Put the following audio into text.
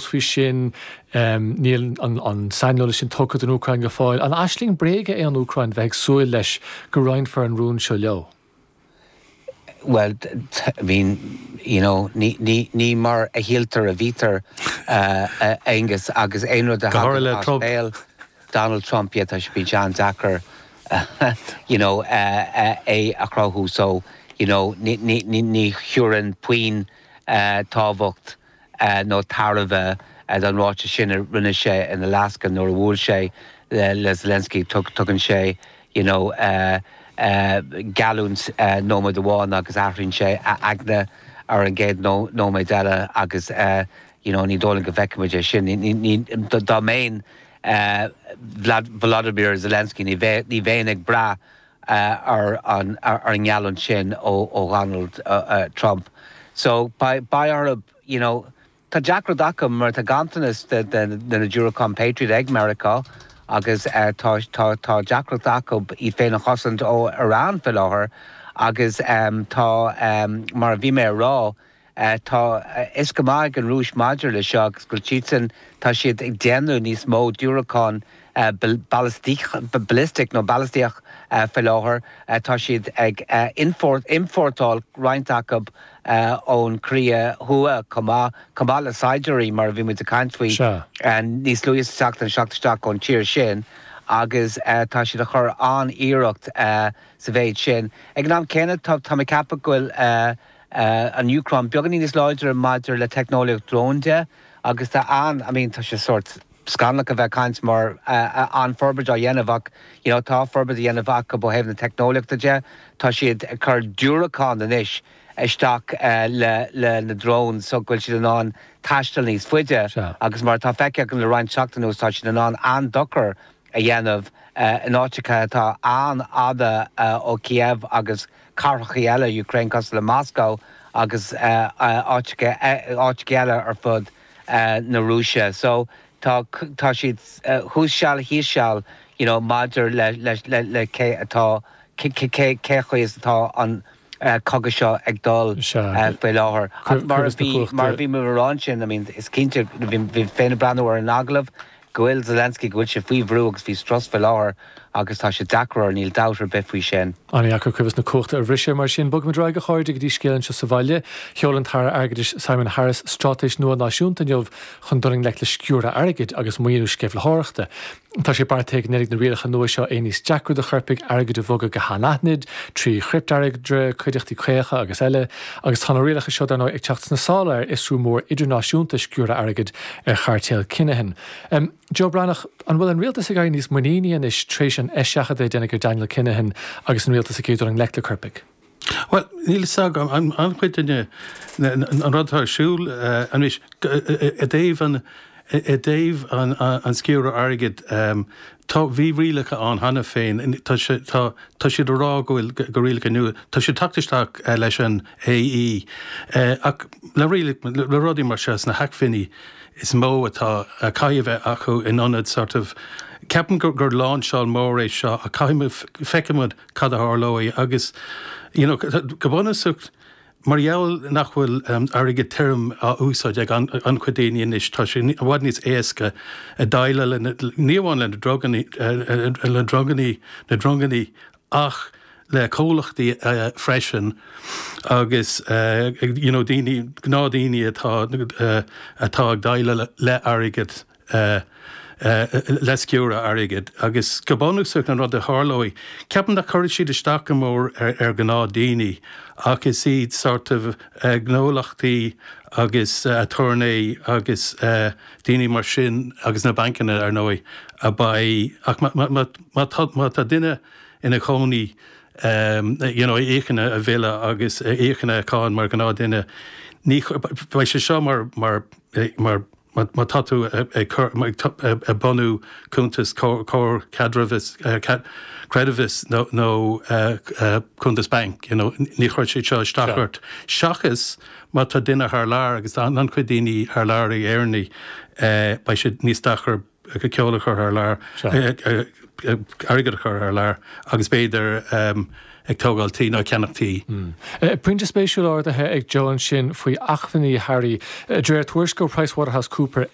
Faoi sin, níl an saineolas sin tugtha don Úcráin go fóill. An aisling bréige é an Úcráin bheith ag súil leis go roinnfear an rún seo leo? Bhuel, I mean, you know, ní mar a shíltear a bhítear, a Aonghus, agus aon rud a thagann as béal Donald Trump, yeah, tá sé, bíonn sé an-deacair, you know, é a chruthú. So, you know, ní thabharfainn puinn tábhacht nó tairbhe don ráiteas sin a rinne sé in Alaska nuair a bhuail sé le Zelensky. Tugann sé you know geallúint nóiméad amháin agus athraíonn sé a aigne ar an gcéad nóiméad eile agus you know ní dóigh liom go bhfeicfimid é sin. Dá mbeinn Volodymyr Zelensky ní bheinn ag brath ar an ngeallúint sin ó Dhonald Trump. So beidh orthu, you know, tá deacracht acu mar tá ganntanas de na diúracáin Patriot ag Meiriceá agus tá tá deacracht acu iad féin a chosaint ó Iran faoi láthair agus tá, mar a bhí mé a rá, Tá a fhios go maith ag an Rúis maidir le seo agus go bhfuil siadsan, tá siad ag déanamh níos mó diúracán ballistic nó balaistíoch faoi láthair. Tá siad ag iompórtáil roinnt acu ón Chóiré Thuaidh chomh maith, chomh maith le saighdiúirí mar a bhí muid ag caint faoi níos luaithe sa tseachtain, teacht isteach ón tír sin agus tá siad ag cur an-iarracht sa mhéid sin. Ag an am céanna tá mé ag ceapadh go bhfuil an Úcráin beagáinín níos láidre maidir le teicneolaíocht drón de agus tá an, I mean tá sé sórt scannalach a bheith ag caint mar an-fhorbairt á dhéanamh ach you know tá forbairt á dhéanamh acu ó thaobh na teicneolaíochta de. Tá siad ag cur diúracán anois isteach le le na dróin so go bhfuil siad in ann taisteal níos faide agus mar atá feicthe againn le roinnt seachtain anuas tá siad in ann an-dochar a dhéanamh in áiteacha atá an-fhada ó Kiev agus cathracha eile Ukraine cosúil le Moscow agus áiteacha eile ar fud na Rúise. So tá tá siad thuas seal thíos seal you know maidir le le le cé atá cé cé cé chaoi is atá an cogadh seo ag dul faoi láthair. Ach mar a bhí mar a bhí mé a rá ansin I mean is cinnte bhí mé féin ag breathnú ar an agallamh go bhfuil Zelensky, go bhfuil sé faoi bhrú agus faoi strus faoi láthair agus tá sé deacair air, níl dabht ar bith faoi sin. An-dheacair cuibheas na cumhachta a bhriseadh mar sin. Bogfaimid ar aghaidh, a chairde, go dtí scéal anseo sa bhaile. Sheol an tAire Airgeadais Simon Harris straitéis nua náisiúnta inniu chun dul i ngleic le sciúradh airgid agus maoiniú sceimhlitheoireachta. Tá sé beartaithe go ndéanfaidh na rialacha nua seo é níos deacra do choirpigh airgead a bhogadh go hanaithnid, trí chripteairgeadra, cuideachtaí caocha agus eile. Agus tá na rialacha seo, dar ndóigh, ag teacht sna sála ar fhiosrú mór idirnáisiúnta sciúradh airgid ar chairtéal Kinahan. Joe Breathnach, an bhfuil an rialtas ag éirí níos muiníní anois tar éis an eiseachadta a déanadh ar Daniel Kinahan agus an rialtas ag iarraidh dul i ngleic le coirpigh? Bhuel, níl fhios agam. An-chuid de an rud atá ar siúl anois i dtaobh an i dtaobh an sciúradh airgid, tá, bhí rialacha ann cheana féin, tá sé, tá, tá siad a rá go bhfuil, go rialacha nua, tá siad teacht isteach leis an AE ach le rialacha, le rudaí mar seo sna hacmhainní is mó atá, a caithfidh a bheith acu in ionad sort of, ceapaim gur, gur láinseáil mór é seo ach caithfidh muid, feicfidh muid cad a tharlóidh agus you know go bunúsach mar gheall nach bhfuil airgead tirim á úsáid ag an-chuid daoine anois tá sé i bhfad níos éasca déileáil le ní amháin le na druganna le druganna na drongannaí ach le comhlachtaí freisin agus you know daoine gnáthdhaoine atá atá ag déileáil le airgead le sciúradh airgid agus go bunúsach an rud a tharlóidh, ceapaim nach cuirfidh siad isteach go mór ar ghnáthdaoine ach is iad sort of gnólachtaí agus aturnae agus daoine mar sin agus na bancanna ar ndóigh a beidh ach má tá duine ina chónaí you know a íocann a bhille agus a íocann a cháin mar ghnáthdhuine ní beidh sé seo mar mar mar Má tá tú ag cur, ag bunú cuntas comhar caidreamhais, creidmheas nó cuntas bainc, you know, ní chuirfidh siad seo isteach ort. Seachas má tá duine thar lear, agus tá an-chuid daoine thar lear ag Éireannaigh, beidh sé níos deacair ceol a chur thar lear, airgead a chur thar lear agus b'fhéidir. ag tógáil tí nó ag ceannach tí. Pointe spéisiúil ardaithe ag Joe ansin faoi acmhainní Harry. De réir tuairisc ó Pricewaterhouse Cooper.